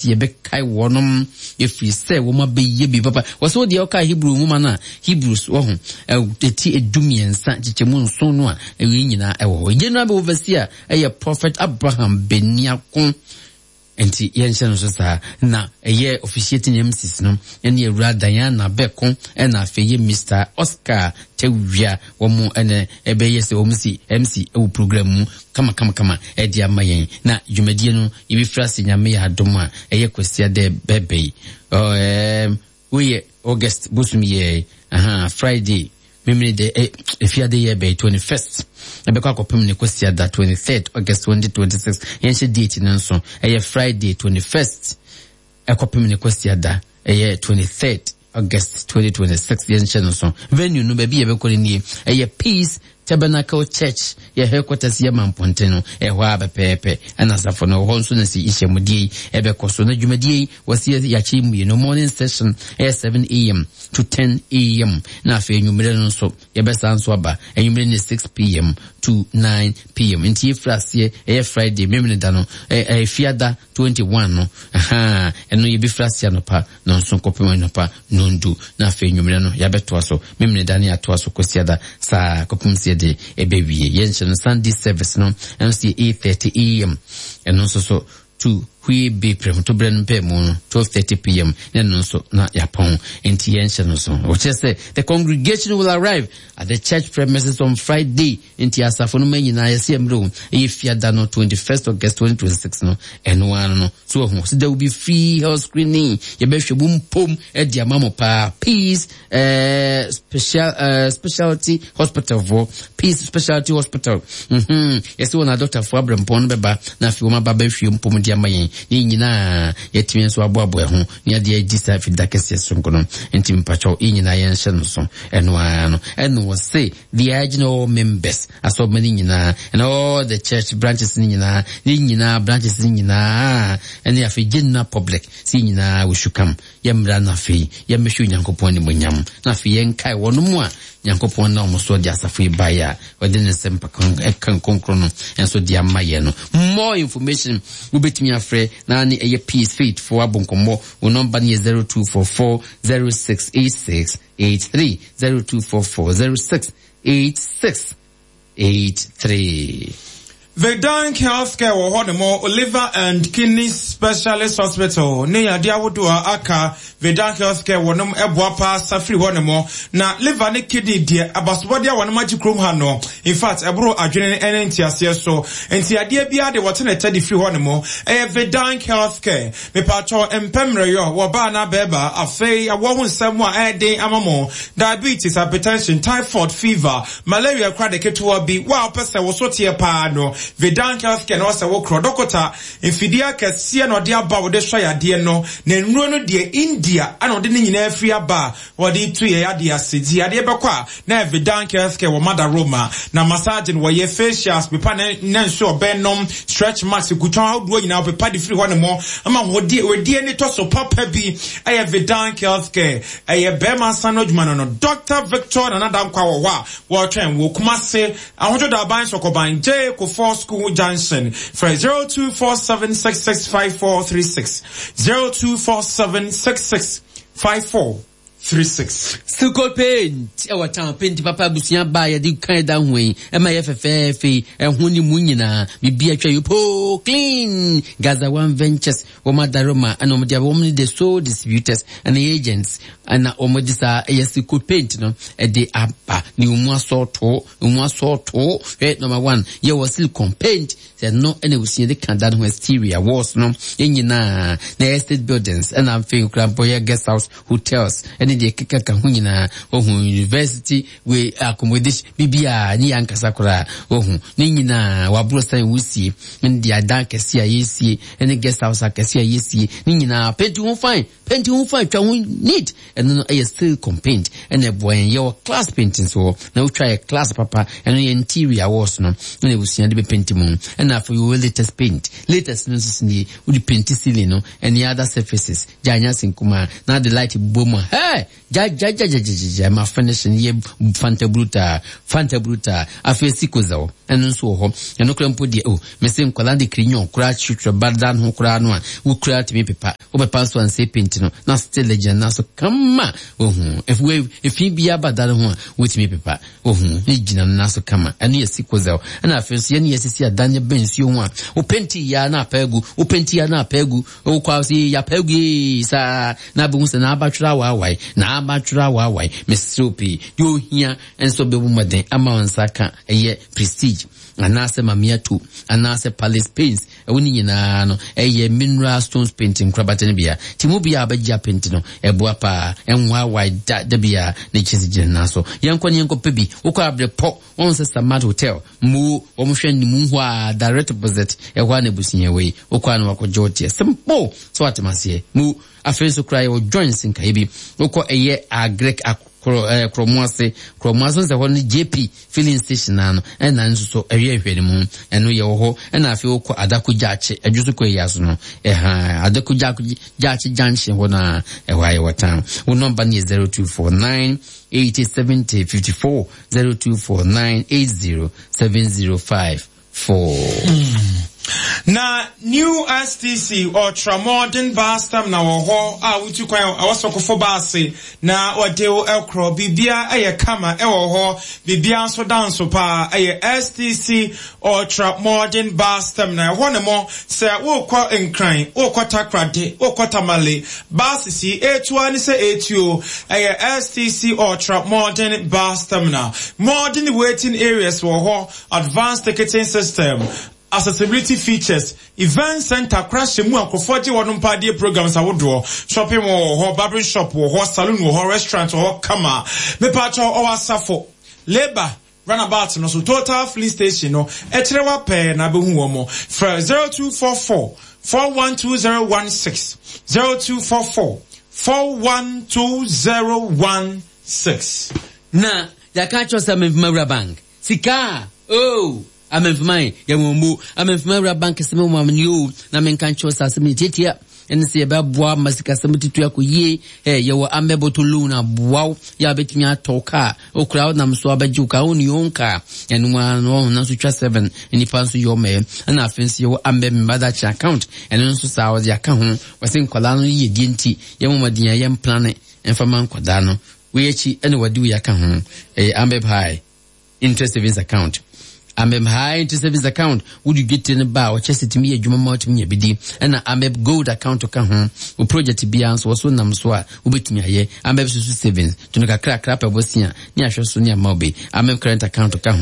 Yɛbɛkae wɔnom ɛfiri sɛ wɔn abɛyɛ bi papa. Wɔ sɛ wodeɛ woka Hebrew nwoma no a, Hebrews wɔ ho, ɛti 13 nkyekyɛmu 7 no a, ɛwei nyinaa ɛwɔ hɔ. General bɛ overseer ɛyɛ Prophet Abraham Beniako. Nti yɛnhyɛ no so saa. Na ɛyɛ officiating MCs no ɛne Awura Diana Bɛko ɛna afei yɛ Mr. Oscar Tawia. Wɔn ɛna ɛbɛyɛ sɛ wɔn si MC ɛwɔ program mu kama kama kama ɛde ama yɛn. Na dwumadie no yɛbɛfiri ase Nyame yɛ adom a ɛyɛ Kwasiada bɛbɛ yi. Ɛɛm, woyɛ August bosom yɛ aha Friday memene dɛ ɛ efiade yɛ bɛyɛ 21st ɛbɛkɔ akɔpem ne Kwasiada 23rd August 2026. Yɛnhyɛ date no nso ɛyɛ Friday 21st ɛkɔpem ne Kwasiada ɛyɛ 23rd August 2026. Yɛnhyɛ no so. Venue no, baabi yɛbɛkɔ no nie, ɛyɛ Peace Tabernacle Church, yɛ headquarters yɛ Mampɔnten no, ɛhɔ a pɛpɛɛpɛ ɛna asafo no wɔ hɔ nso na si nhyiamudie yi ɛbɛkɔ so. Na dwumadie yi wɔsi yɛakyɛ mmienu, morning session ɛyɛ 7 a.m. to 10 a.m., na afei anwummerɛ no nso yɛbɛsan nso aba anwummerɛ ne 6 p.m. to 9 p.m. Nti yɛfiri aseɛ ɛyɛ Friday memene da no, ɛyɛ fiada 21 no, aha ɛno yɛbɛfiri aseɛ anɔpa 7 kɔpem anɔpa 10, na afei nwummerɛ no yɛabɛtoa so memene da ne yɛatoa so kwasiada saa kɔpem sɛ yɛde ɛbɛwie. Yɛnhyɛ no Sunday service no, ɛno nso yɛ 8:30 a.m., ɛno nso so to hwie be prɛmtoberɛ no mpɛ mu no 12:30 p.m. na ɛno nso na yɛapɔn. Nti yɛnhyɛ no so, wɔkyerɛ sɛ the congregation will arrive at the church premises on Friday. Nti asafo no ma nyinaa yɛsɛ mmerɛ o, ɛyɛ fiada no 21st August 2026 no, ɛno ara no so ahu so there will be free health screening. Yɛbɛhwɛ mu mpom ɛde ama mo paa. Peace Specialty Hospital foɔ, Peace Specialty Hospital, yɛsɛ wɔn adɔktafoɔ abrɛmpɔn no bɛba na afei wɔn aba bɛhwɛ mpom de ama yɛn ne nyinaa yɛtumi nso aboaboa ho ne adeɛ agyi saa fida kɛseɛ sonko no. Nti mpakyɛw, yɛn nyinaa yɛnhyɛ no so, ɛno ara no ɛno wɔ se they are urging all members, asɔrɔma no nyinaa and all the church branches no nyinaa, ne nyinaa branches no nyinaa, ɛne afei general public sɛ nyinaa we should come, yɛmmra na afei yɛmmɛhwɛ Onyankopɔn animonyam, na afei yɛnkae wɔn mu a Nyankopɔn na wɔn so de asafo yi baeɛ a wɔde ne nsɛm ka kronkron no nso de ama yɛn no. More information, wobɛtumi afrɛ na ne ɛyɛ Peace Faith fo abɔ nkɔmmɔ. Wɔn nɔmba no yɛ 0244 0686 83, 0244 0686 83. Vedank Healthcare wɔ hɔ nom, Liver and Kidney Specialist Hospital ne yadeɛ ahodoɔ a aka. Vedank Healthcare wɔ nom ɛboa paa safiri hɔ nom, na liver ne kidney deɛ, abasobɔdeɛ a wɔnom agye kurom ha no, in fact, ɛboro adwene ne nteaseɛ so. Nti adeɛ biara de wɔte ne tɛ de firi hɔ nom, ɛyɛ Vedank Healthcare. Mepatwɔ mpɛ mmerɛyɔ wɔ baa na bɛɛba, afei awɔ ho nsɛm a ɛyɛ den ama mo, diabetes, hypertension, typhoid, fever, malaria kora de ketewa bi wo a wopɛ sɛ wo so teɛ paa no, Vedank Healthcare na ɔsɛ wo korɔ. Dɔkota mfidie akɛseɛ na ɔde aba wode sɔ yadeɛ no, na nnuro no deɛ, India ana ɔde ne nyinaa firi aba a wɔde tu yɛ yadeɛ ase. Nti yadeɛ bɛkɔ a na Vedank Healthcare wɔ Mada Roma. Na massage no wɔyɛ, facials, pepa ne ne nso ɔbɛn nom, stretch marks, kutɔn ahodoɔ nyinaa ɔpepa de firi hɔ ne mo ama hodie wedie ne tɔ so papa bi. Ɛyɛ Vedank Healthcare. Ɛyɛ bɛrima nsa no adwuma no Dr. Victor Nana Dankwa wɔ hɔ a wɔretwɛn wɔ Kumase, Ahodwo Daban Sɔkɔban J Kofoɔ School Junction. Frɛ 0247665436, 0247665436. Silco Paint ɛwɔ town, paint papa abusua baa yɛde kan da ho yi ɛma yɛ fɛfɛɛfɛ yi, ɛho ne mu nyinaa biribi atwa yi poo clean. Gaza One Ventures wɔn adaroma ɛna wɔn de wɔn ne the sole distributors ɛna agents ɛna wɔn de saa ɛyɛ Silco Paint no ɛde aba ne wɔn asɔɔto, wɔn asɔɔto. Hwɛ, number one yɛwɔ silicon paint sɛ no ɛna ebusua de ka da no ho, exterior walls no yɛn nyinaa na estate buildings, ɛna afei nkura mpo yɛ guest house, hotels ɛne deɛ keka ka ho nyinaa. Ohun university wei accommodation biribiara ne yɛ ankasa koraa, ohun ne nyinaa waboro san wusie ɛne deɛ adan kɛse a yɛsie ɛne guest house akɛse a yɛsie ne nyinaa. Paint ho fine, paint ho fine, twa ho neat. Ɛno no ɛyɛ silicon paint ɛna ɛboa yɛn. Yɛwɔ class paint nso hɔ na wotwa yɛ class papa, ɛno yɛ interior walls no ɛna ebusua de bɛ paint mu. Ɛna afei yɛwɔ latest paint. Latest no nso so nie, wode paint ceiling no ɛne other surfaces gya anya ase nkumaa na de light bɔ mu a, hey. Hɛ! Gyagyagyagyagya ma finish no yɛ fanta brutaa, fanta brutaa. Afei sikozel, ɛno nso wɔ hɔ. Ɛno koraa mpo deɛ, oh, mese nkwadaa de crayon koraa kyerɛkyerɛ ba dan ho koraa no a, wo koraa tumi pepa. Wobɛpa nso ansɛ paint no, na still gyina nan so kama. Wohu, efi biara ba dan ho a, wotumi pepa. Wohu, ne gyina no nan so kama. Ɛno yɛ sikozel. Ɛna afei nso yɛne yɛsisi adan no bɛn nsuo ho a, wo penti yɛ a na apa agu, wo penti yɛ a na apa agu. Wokɔ a sɛ yɛapa agu ee saa na abɛhu sɛ n'abatwerɛ awaawae, n'abatwerɛ awaawae. Mesrɛ wo pii, deɛ ohia nso bɛbɔ mmɔden ama wo nsa ka ɛyɛ Prestige anaasɛ Mamiato anaasɛ Palace Paints. Ɛwo ne nyinaa no ɛyɛ mineral stones paint nkorabata no bia. Ti mu bia abɛgye apenti no ɛboa paa, ɛnwaawae da da bia ne kyesi gyina nan so. Yɛnkɔ ne yɛnkɔ pɛ bi. Wokɔ abrepɔ, wɔn sɛ Samad Hotel, mu wɔn hwɛ ne mu hɔ a direct opposite ɛhɔ a na abusua wɔ yi. Wokɔ a na wakɔgye wo teɛ. Simple! So atem aseɛ. Mu afei nso koraa yɛwɔ joints nkaeɛ bi. Wokɔ ɛyɛ agric akorɔ ɛɛ korɔmo ase. Korɔmo ase sɛ hɔ no JP filling station naa no ɛna nso so ɛyɛ nhwɛ ne mu. Ɛno yɛwɔ hɔ. Ɛna afei wokɔ Adako Gyaakye ɛdwo so kɔ ɛyɛ aso no. Ɛha Adako Gyaakye junction hɔ naa ɛhɔ a yɛwɔ town. Wo nɔmba no yɛ 0249 80 70 54 0249 80 70 54. Na New STC Ultramodern Bus Terminal wɔ hɔ a wotu kwan a ɛwɔ Sokofo baase na wɔde wo korɔ. Biribiara yɛ kama wɔ hɔ, biribiara nso da nso paa. Ɛyɛ STC Ultramodern Bus Terminal. Ɛhɔ ne mo sɛ wokɔ Nkran, wokɔ Takoradi, wokɔ Tamale, bases yi etu ara ne sɛ etuo. Ɛyɛ STC Ultramodern Bus Terminal. Modern waiting areas wɔ hɔ. Advanced ticketing system, accessibility features, event center koraa hyɛ mu a nkurɔfoɔ gye wɔn mpadeɛ programs ahodoɔ, shopping mall wɔ hɔ, barbering shop wɔ hɔ, saloon wɔ hɔ, restaurant wɔ hɔ kama. Mepaakyɛw ɔwɔ asafo, labour, runabout no so, total filling station no ɛkyerɛ wa pɛɛ na abɛhu wɔn. Frɛ 0244 412016, 0244 412016. Na yɛaka akyerɛ sɛ Memfima Wura Bank Sika a, oh, Amemfima e, yɛ wɔn mo. Amemfima wura bank sɛ me wɔn ni o, na menka nkyerɛ sɛ asɛm yɛ tiatia. Ɛne sɛ yɛbɛboa ma sikasɛm tutu akɔ yie. Ɛ yɛwɔ ambɛbɔtɔ loan aboa wo yɛ a wobɛtumi atɔ kaa. Okura wo nam so abɛgye wo kaa, wo ne own kaa. Ɛno ara no ɔho nanso twa seven nnipa nso yɛ ɔmɛ. Ɛna afei nso yɛwɔ ambɛ mmadakye account. Ɛno nso saa wɔde aka ho. Wɔse nkwadaa no yiyedie nti yɛmmɔ mmɔden a yɛmplane mfa ma nkwadaa no. Wei akyi na wɔde wei aka ho, ɛyɛ Ambeb High Interest Savings Account. Ambeb High Interest Savings Account, wode dwetire no ba a, ɔkyɛ sɛ tumi yɛ adwuma ma wotumi nya bi di. Ɛna Ambeb Gold Account ka ho. Wo project biara nso, wɔso nam so a, wobɛtumi ayɛ. Ambeb Susu Savings, to no kakrakra pɛ bosea ne ahwɛ so ne ama wo bi. Ambeb Current Account ka ho.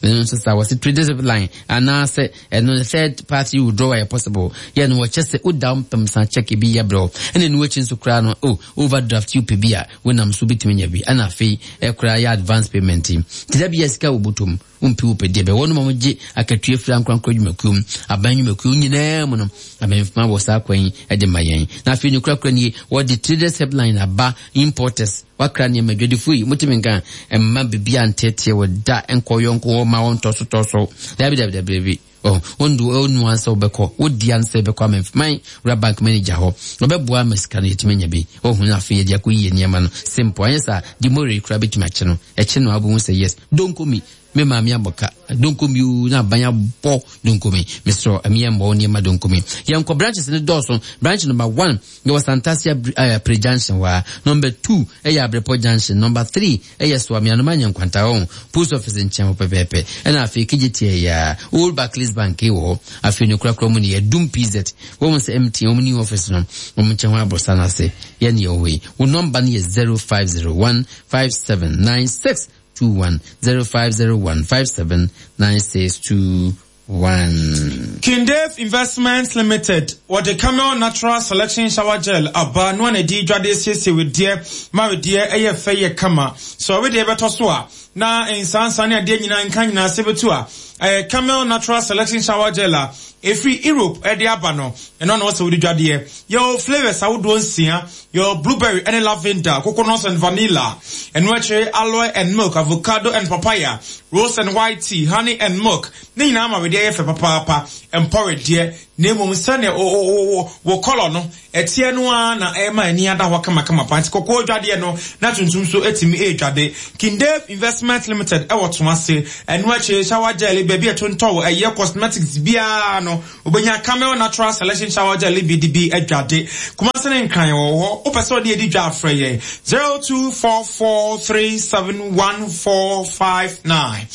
Ɛno nso saa, wɔse traders line anaasɛ ɛno third party withdrawal yɛ possible. Yɛ no wɔkyɛ sɛ woda wo mpem san check bi yɛ brɛ wo. Ɛna ɛno akyi nso koraa no, oh, overdraft yi wopɛ bi a, wonam so wobɛtumi anya bi. Ɛna afei ɛkoraa yɛ advance payment yi. Nti da bi a sika wɔ bɔtɔ mu, wompi wopɛ deɛ bɛ. Wɔnom a wɔgye akatua firi ankorankoro adwumakuo mu, aban nnwumakuo nyinaa mu no, abɛnfoma wɔ saa kwan yi de ma yɛn. Na afei ne korakora nie, wɔde traders helpline aba, importers, wakra nneɛma, adwadifoɔ yi, motumi nka mma biribi anteeteɛ wɔ da nkɔ yɔnko hɔ ma wɔntɔ so tɔ so. Dabi dabi dabi dabi. Oh, wondu onu ansa wobɛkɔ, wodi ansa wobɛkɔ amemfman wura bank manager hɔ. Ɔbɛboa ama sika no yɛtumi anya bi. Oh, na afei yɛde akɔ yie nneɛma no. Simple. Anyɛ saa, demore koraa bɛtumi akye no. Ɛkye no a wobɛhu sɛ yes, donkomi. Me maame abɔ ka. Donkomi oo, na aban abɔ donkomi. Mesrɛ, ɛmi yɛ mmɔ wo nneɛma donkomi. Yɛnkɔ branches no dɔɔso. Branch number one, yɛwɔ Santase Apre Junction hɔ a. Number two, ɛyɛ Abrepɔ Junction. Number three, Ɛyɛ so a meanom anyɛ nkwanta hɔ post office nkyɛn hɔ pɛpɛɛpɛ. Ɛna afei Kejetia yi ara, Old Barclays Bank wɔ hɔ. Afei ne korakora mu no yɛ Dum PZ. Woahu sɛ MTN wɔn new office no, wɔn nkyɛn hɔ aborosan no ase. Yɛn na yɛwɔ hɔ yi. Wo nɔmba no yɛ 0501 579621, 0501 579621. 1. Kindave Investments Limited, wɔde Camel Natural Selection Shower Gel aba no a na ɛde dwa de asiesie wedeɛ ma wedeɛ yɛ fɛ yɛ kama. Sɛ ɔwedeɛ bɛtɔ so a, na nsansa ne adeɛ nyinaa nka nyinaa ase bɛtu a, ɛyɛ Camel Natural Selection Shower Gel a. ɛfiri Europe de aba no, ɛno na wɔsɛ wode dwadeɛ. Yɛwɔ flavours ahodoɔ nsia, yɛwɔ blueberry ne lavender, coconut and vanilla, ɛno akyire aloe and milk, avocado and papaya, rose and white tea, honey and milk. Ne nyinaa ma wedeɛ yɛ fɛ papaapa, ɛmpɔ wedeɛ, na mmom sɛdeɛ wo kɔlɔ no ɛteɛ no ara na ɛma ani ada hɔ kamakama paa. Nti kɔkɔɔ dwadeɛ no na tuntum nso tumi redwade. King Dave Investment Limited ɛwɔ Tomase. Ɛno akyire shower gel baabi a ɛtontɔn ɛyɛ cosmetics biara no, wobɛnya Camel Natural Selection Shower Gel bi de bi adwade. Kumase ne Nkran wɔ hɔ. Wopɛ sɛ ɔde adi dwa afrɛ yɛn 0244371459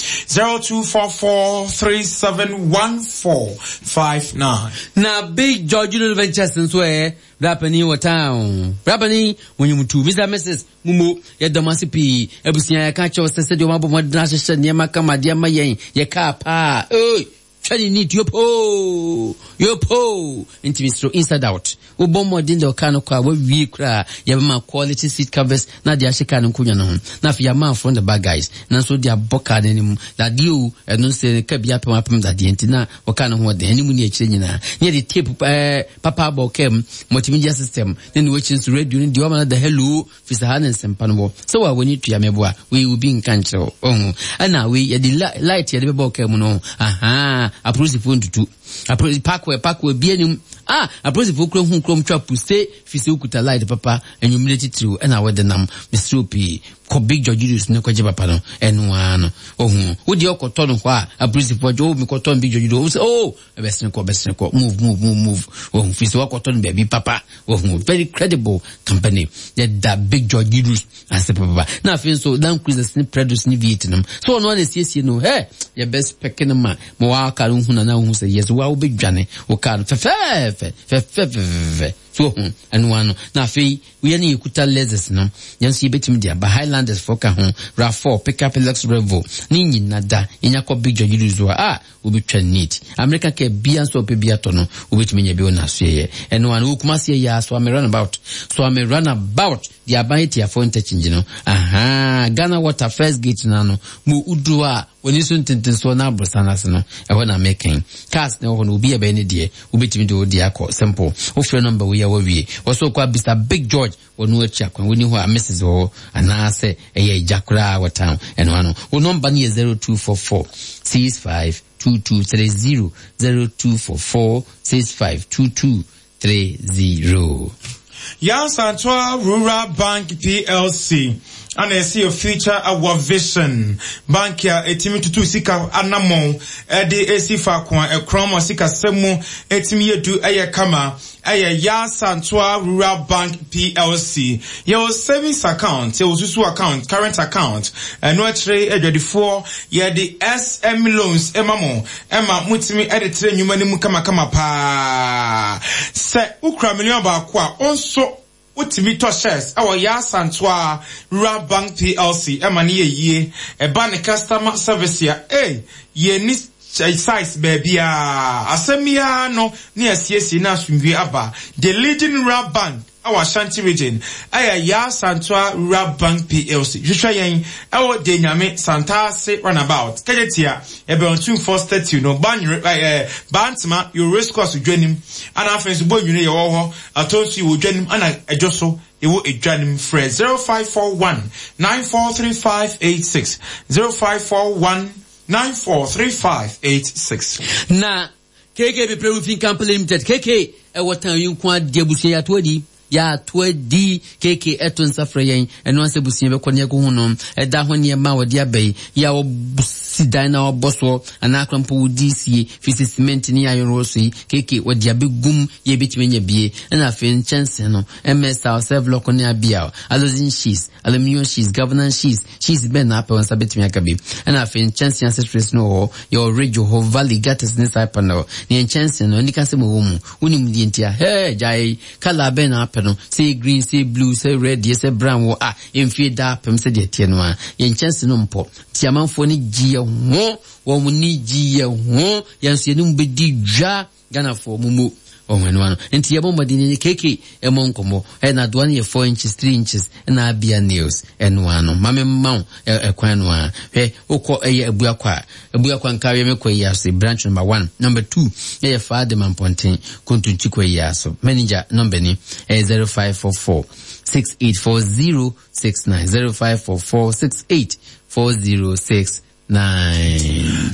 0244371459. Na Big George Junior Ventures nso ɛ, bra panin wɔ town. Bra panin, wɔnyim tu. Mr. Mrs. Mumo, yɛda mo ase pii. Abusua, yɛka kyerɛ wo sɛ sɛdeɛ wɔabɔ mmɔden ahyehyɛ nneɛma kama de ama yɛn, yɛ kaa paa. Oi! Twa ne neat, yopoo! Yopoo! Nti mesrɛ inside out. Wobɔ mmɔden de ɔkaa no kɔ a, wawie koraa. Yɛbɛma quality seat covers na de ahyɛ kaa no nkonnwa no ho. Na afei yɛama front the back guys. Nanso de abɔ kaa no anim. Dadeɛ o, ɛno nso ka bi apem apem dadeɛ nti na ɔkaa no ho ɔden. Anim ne akyire nyinaa. Ne yɛde tape ɛɛ papa abɔ ɔkaa mu. Multimedia system. Ne ne wakyi nso radio no deɛ wama no da hello. Firi sɛ ha ne nsɛmpa no wɔ. Sɛ wa w'ani tua me boa, wei obi nka nkyerɛ wo. Ɔho. Ɛna wei yɛde light yɛde bɛbɔ ɔkaa mu no. Ahaa, apolisifoɔ ntutu. Apolisi parkway parkway bi anim. Ah, apolisifoɔ kura hu kurom twa puse firi sɛ wokuta light papa anwummere titiriw ɛna wɔde nam. Mesrɛ pii kɔ Big George Julius ne kɔgye papa no. Ɛno ara no. Ɔho. Wo deɛ ɔkɔtɔ no hɔ a apolisifoɔ gye oh mekɔtɔ no Big George Julius. Oh, ɛbɛsene kɔ ɛbɛsene kɔ move move move move wɔn fi sɛ wakɔtɔ no baabi papa wɔn very credible company yɛda Big George Idris ase papa na afei nso Land Cruisers ne Prados ne V8 nom so ɔno ana esiesie no hɛ yɛbɛ spɛke no ma ma waka no hu na na wohu sɛ yes wa wobɛdwane wo kaa no fɛfɛɛfɛ fɛfɛɛfɛ so ho ɛno ano na afei woyɛ ne yɛkuta Lexus no yɛn nso yɛbɛtumi de aba Highlanders fo ka ho RAV4 pickup Lux Revo ne nyina da yɛnya kɔ Big George Idris a ah Wobɛtwa neat. Amerika car bia nso a wopɛ bi atɔ no, wobɛtumi anya bi wɔ n'asoɛeɛ. Ɛno ara no, wɔ Kumasi ɛyɛ a, Soame runabout. Soame runabout, deɛ aban atiafoɔ interchange no. Ahaa, Ghana Water first gate no ano. Mo woduru hɔ a, w'ani so ntentensoɔ na aborosan no ase no, ɛhɔ na meka yi. Cars na ɛwɔ hɔ no, obi a ɛbɛyɛ ne deɛ, wobɛtumi de wo deɛ akɔ. Simple. Wofrɛ number wei a woawie. Wɔ so wokɔ abisa Big George. Wɔn akyi akwan, wonni hɔ a Mrs wɔ hɔ anaasɛ ɛyɛ agya koraa wɔ town ɛno ano. Wo nɔmba no yɛ 0244 65 2230, 0244 65 2230. Yansantoa Rural Bank PLC ana ɛsɛ yɛ future our vision bank a ɛtumi tutu sika anammɔn ɛde esi faako a ɛkorɔn ma sikasɛm mu ɛtumi yɛ du ɛyɛ kama. Ɛyɛ Yaa Santoa Rural Bank PLC. Yɛwɔ savings account, yɛwɔ susu account, current account. Ɛno akyire adwadifoɔ yɛde SM loans ma mo ma motumi de trɛ nnwuma no mu kamakama paa. Sɛ wokura million baako a, wo nso wotumi tɔ shares wɔ Yaa Santoa Rural Bank PLC ma no yɛ yie. Ɛba ne customer service a, ei, yɛnni size baabiara. Asɛm yi ara no ne asiesie na asomdwie aba. The leading rural bank wɔ Ashanti region yɛ Yaa Santoa Rural Bank PLC. Hwehwɛ yɛn wɔ Denyame Santase Runabout, Kejetia, yɛbɛn Otumfoɔ Statue no, Banyere, eh, Bantama, yɛwɔ Race Course dwa nim, ana afei nso Bonwire yɛwɔ hɔ, Atonsu yɛwɔ dwa nim, ana Ɛdwo so yɛwɔ edwa nim. Frɛ 0541 943586, 0541 943586. Na KK Bepre Roofing Company Limited, KK, ɛwɔ tan yi nko adeɛ abusua yɛato adi yɛato adi KK ɛto nsa frɛ yɛn ɛno ansɛ abusua bɛkɔ ne ɛkɔhu no ɛda ho nneɛma a wɔde aba yi yɛ a wɔsi dan na wɔbɔ soɔ anaa akora mpo wodi sie fi sɛ cement ne ayɔnwɔ so yi KK wɔde abɛgum yɛ bɛtumi anya bie ɛna afei nkyɛnse no MS tile self-lock ne abia alozin sheets Aluminium sheets, governance sheets, sheets bɛn na apɛ wo nsa bɛtumi aka bi. Ɛna afei nkyɛnsee accessories no wɔ hɔ. Yɛwɔ ridge wɔ hɔ, valley, gutters ne side panel. Ne yɛn nkyɛnsee no, anika sɛm wɔ mu. Wonim deɛ nti a? Hɛɛ, gyae! Colour bɛn na apɛ no? Sɛ yɛ green, sɛ yɛ blue, sɛ red yɛ, sɛ brown wɔ a, mfie daapem sɛdeɛ ɛteɛ no ara. Yɛn nkyɛnsee no mpɔ. Nti amanfoɔ ani gye yɛn ho. Wɔn ani gye yɛn ho. Yɛn nso yɛne mo bɛdi dwa. Ghanafoɔ mo mo. Ɔho ɛno ano. Nti yɛbɔ mmɔden yɛnyɛ KK ɛmɔ nkɔmmɔ. Ɛ na adoa no yɛ 4 inches, 3 inches ɛna abia nails ɛno ano. Ma me mma wo ɛkwan no a. Hwɛ wokɔ ɛyɛ Abuakwa a, Abuakwa nkaweɛ me kɔ yi ase branch number 1, number 2 ɛyɛ Faadema Mpɔnten Kontonkyi kɔ yi aso. Manager number ni ɛyɛ 0544 684069 0544 684069.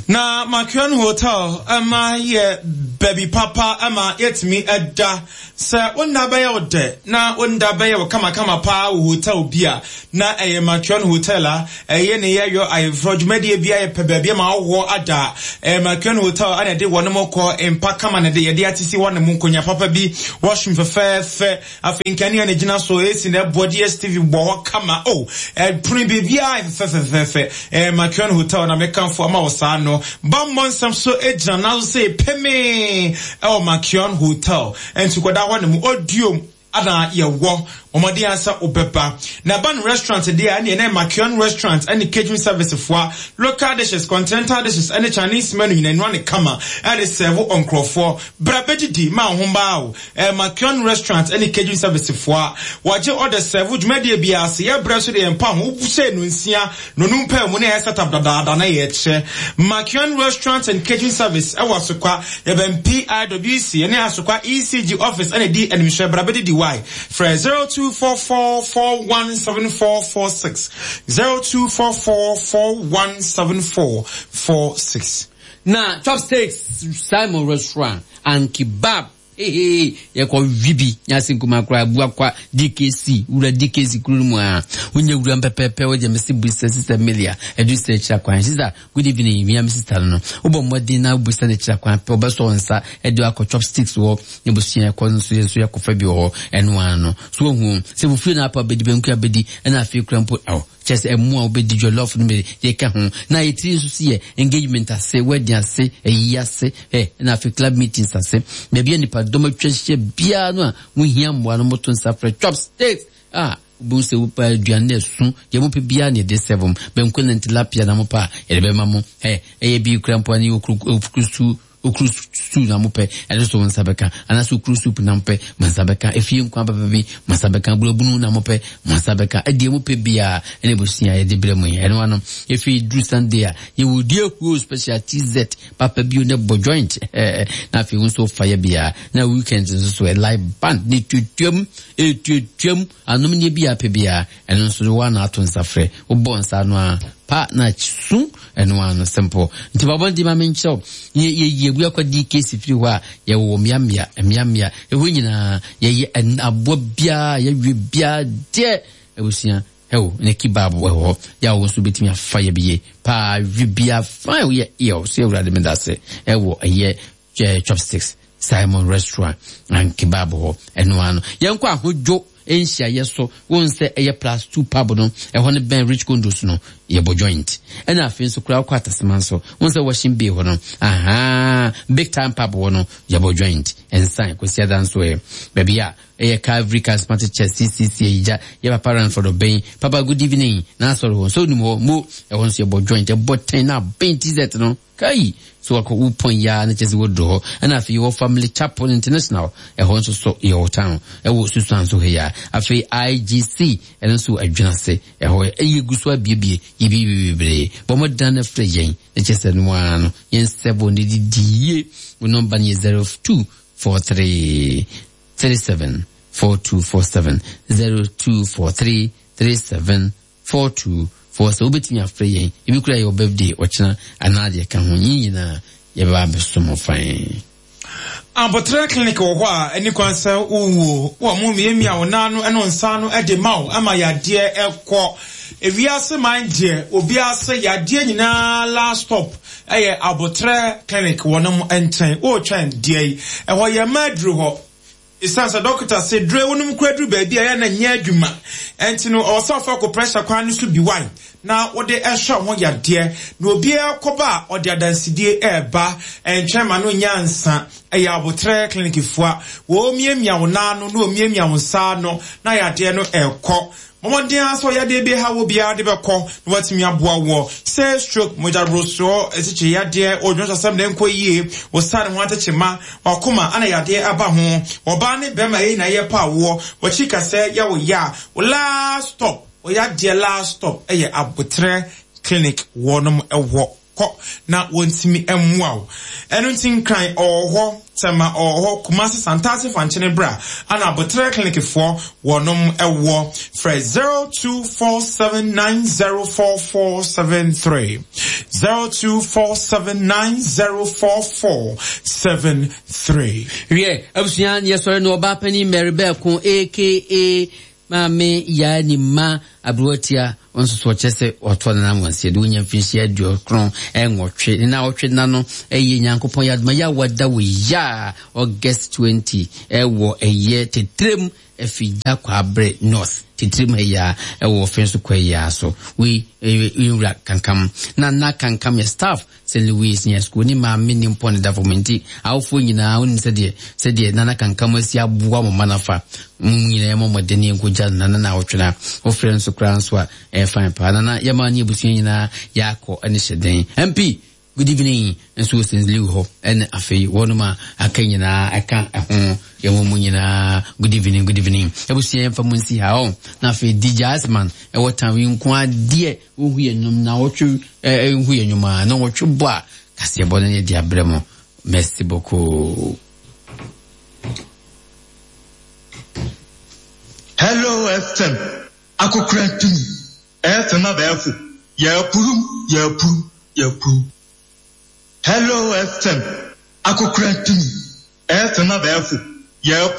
Na Makion Hotel ma yɛ baabi papa ma yɛtumi da. Sɛ wo nna bɛyɛ wo dɛ na wo nda bɛyɛ wo kamakama paa wɔ hotel bi a, na ɛyɛ Makion Hotel a ɛyɛ ne yɛyɔ ayeforɔ dwumadie bi a yɛpɛ baabi ma ahohoɔ ada. Ɛyɛ Makion Hotel a na ɛde wɔnom kɔ mpa kama na ɛde yɛde atisi hɔnom nkonya papa bi, washroom fɛfɛɛfɛ. Afei nkanea na egyina so, AC na ɛbɔ, DSTV bɔ hɔ kama. Oh, ɛpono biribiara yɛ fɛfɛfɛfɛ. Ɛɛ Makion Hotel na mekamfo ama wo saa no. Bammɔ nsɛm so gyina n'aso sɛ pemee ɛwɔ Makion Hotel. Ɛnti kɔda hɔ nom, odiom ana yɛwɔ. Mmɔden ara sɛ wobɛba. Na ɛba no restaurant deɛ a, ɛneɛ na Makion Restaurant ɛne catering service foa, local dishes, continental dishes ɛne Chinese menu nyinaa ɛnoa ne kama ɛde sɛvo nkorɔfoɔ. Bra bɛdidi ma wo ho mmaa o. Makion Restaurant ne Catering Service foɔ a wɔgye order serve dwumadie biara ase. Yɛ brɛ nso deɛ yɛmpa ho, wohyɛ nonsia, nonum paa mu na yɛ set up dadaada na yɛkyɛ. Makion Restaurant and Catering Service wɔ Asokwa, yɛbɛn PIWC ne Asokwa ECG office na ɛdi animhwɛ. Bra bɛdidi wai. Frɛ 0244 417446, 0244 417446. Na Chopsticks Simon Restaurant and Kebab hehe yɛkɔ wi bi nyase nkuma koraa Abuakwa DKC wura DKC kuro no mu a wonya wura mpɛpɛpɛ wogye me se busa sister Melia adu sɛ akyira kwan. Sister, good evening. Wia me sister no no wobɔ mmɔden na wobusa no akyira kwan pɛ wobɛsɔ wo nsa de akɔ Chopsticks wɔ ne busua ɛkɔ nso yɛ nso yɛkɔfa bi wɔ hɔ ɛno ara no so wahu sɛ fufuo na apa bɛdi banku abɛdi ɛna afei kura mpo aw Kyerɛ sɛ ɛmo a wobɛdi, jollof no bɛ deɛ ɛka ho. Na yɛ tiri nso so yɛ engagement ase, wedding ase, ayi ase, ɛ, ɛna afei club meetings ase. Baabi a nipa dɔm atwa ahyia biara no a wohia mmoa no, moto nsa frɛ chopsticks a wobɛhu sɛ wopɛ aduane no ɛso, deɛ mopɛ biara na yɛde serve mo. Banku ne tilapia na mopɛ a, yɛde bɛma mo. Ɛ, ɛyɛ bi kura mpo a ne yɛ okuru, okuru stew. Okuru stew na mopɛ, ɛno nso wo nsa bɛka. Anaasɛ okuru soup na mopɛ, mo nsa bɛka. Efie nkwan papa bi, mo nsa bɛka. Abunabunu na mopɛ, mo nsa bɛka. Ɛdeɛ mopɛ biara, ɛna abusua yɛde brɛ mo yi. Ɛno ano, efi duru Sunday a, yɛwɔ die huo special TZ papa bio na bɔ joint. Na afei wo nso fa yɛ biara. Na weekend nso so, live band ne tuatuam, etuatuam, anom ne bi a pɛ biara. Ɛno nso wo ana ato nsa frɛ. Wobɔ nsa ano a, pa na su ɛno ano simple. Nti bɔbɔ nti ma menkyerɛw. Yɛ yɛ yɛ bu akɔ di case firi hɔ a yɛwɔ mmeammea mmeammea ɛhɔ nyinaa yɛyɛ aboa biara yɛwie biara deɛ abusua ɛwɔ ne kebab wɔ hɔ yɛ a wɔn nso bɛtumi afa yɛ bi yie paa wi biara fine yɛ yɛ ɔsɛ awurade meda ase ɛwɔ ɛyɛ Chopsticks Simon Restaurant and Kebab hɔ ɛno ano. Yɛnkɔ ahodwo nhyiaeɛ so wɔn sɛ ɛyɛ plus two pub no ɛhɔ no bɛn Rich Condos no yɛbɔ joint. Ɛna afei nso koraa wokɔ Atasema nso wɔn sɛ washing bay hɔ no ahaa big time pub hɔ no yɛbɔ joint. Nsan Kwasiada nso ɛ baabi a ɛyɛ Calvary Charismatic Church CCC ayigya yɛ papa Ranford ɔbɛn papa good evening n'asɔre hɔ nso onim hɔ mo ɛhɔ nso yɛbɔ joint ɛbɔ tɛn na abɛn t-shirt no. Kai! So wakɔ wo pɔn yi ara na kyerɛ sɛ woaduru hɔ. Ɛna afei yɛwɔ Family Chapel International, ɛhɔ nso so yɛwɔ town, ɛwɔ Susuan so ha yi ara. Afei IGC, ɛno nso wɔ Adwinase, ɛhɔ yɛ gu so abiebie, yɛbiebie bebree. Bɔ mmɔden na frɛ yɛn, na kyerɛ sɛ ɛno ara no, yɛn sɛbo no didi yie. Wo nɔmba no yɛ 0243 37 4247, 0243 37 424 sɛ wobɛtumi afrɛ yɛn ebi koraa yɛwɔ birthday ɔkyena anaa deɛ ɛka ho yɛn nyinaa yɛbɛba abɛso mo fann. Aboterɛ clinic wɔ hɔ a ɛni kwan sɛ wowuo. Wɔ mo miamia wo nan ano ne wo nsa ano de ma wo ma yadeɛ kɔ. Ewiase man deɛ obiara se yadeɛ nyinaa last stop yɛ aboterɛ clinic wɔnom nkyɛn. Woretwɛn deɛ yi? Ɛhɔ yɛmma aduru hɔ. Esiane sɛ dɔkota se dure wonom kura duru baabi a ɛyɛ na ɛnyɛ adwuma nti no, ɔwɔ sɛ ɔfa acupressure kwan no so bi wae na wode hwɛ wo ho yadeɛ. Na obiara kɔba a, ɔde adansedie reba. Ɛntwɛn ma no nyɛ ansa. Ɛyɛ Aboterɛ Clinic fua. Wɔremiamia wo nan ano na wɔmiamia wo nsa ano na yadeɛ no ɛrekɔ. Bɔ mmɔden ara sɛ ɔyadeɛ bi ha wo biara de bɛkɔ na watumi aboa woɔ. Sɛ stroke, mogyaborosoɔ, asikyire yadeɛ, odwonsasɛm na ɛnkɔ yie, wo sane ho atekyema, wakoma ana yadeɛ aba ho, ɔbaa ne bɛrima yɛn nyinaa yɛpɛ awoɔ, wakyi kasɛɛ yɛ wo ya a, wo last stop, wo yadeɛ last stop ɛyɛ Aboterɛ Clinic wɔnom wɔ. Kɔ na wɔntumi mmoa wo. Ɛno nti Nkran ɔwɔ hɔ, Tema ɔwɔ hɔ, Kumasi Santase Fankyene bra ana Aboterɛ Clinic foɔ wɔnom wɔ. Frɛ 0247904473, 0247904473. Wiɛ, abusua yɛsɔre no ɔbaa panin Mary Bɛɛko aka Maame Yaa ni mma aberewatia nso so ɔkyerɛ sɛ ɔtoa ne nan wɔn de wonya mfinhyia aduokron nwɔtwe ne naawɔtwe nna no ɛyɛ Nyankopɔn yɛ adoma yɛ awada wɔ ya August 20 ɛwɔ ɛyɛ tetrem afigya kwabre North tetrem ha ya ɛwɔ ɔfɛn so kwa ya so wei nwura kankam na na kankam yɛ staff St. Louis Senior School ne maame ne mpɔn da fam nti awofoɔ nyinaa wonim sɛdeɛ sɛdeɛ Nana Kankam asi aboa mo mma no afa mo nyinaa yɛmmɔ mmɔden ne yɛnkɔgya no Nana na awɔtwe wofrɛ nso koraa nso a ɛyɛ fine paa Nana yɛma ne abusua nyinaa yɛakɔ ne hyɛ den MP good evening nso wɔ St. Louis hɔ ɛne afei wɔnom a aka nyinaa ɛka ɛho yɛwɔ mu nyinaa good evening good evening abusua yɛmfa mu nsi ha ɔ na afei DJ Iceman ɛwɔ town yi nko adeɛ Wohu yɛ nnwom na wɔtwe eh, hu yɛ nnwom a na wɔtwe bɔ a kaseɛbɔ no yɛ de abrɛ mo. Merci beaucoup. Hello FM, akokora tumi, FM abɛɛfo, yɛapurum, yɛapurum, yɛapurum. Hello FM, akokora tumi, FM abɛɛfo, yɛapurum.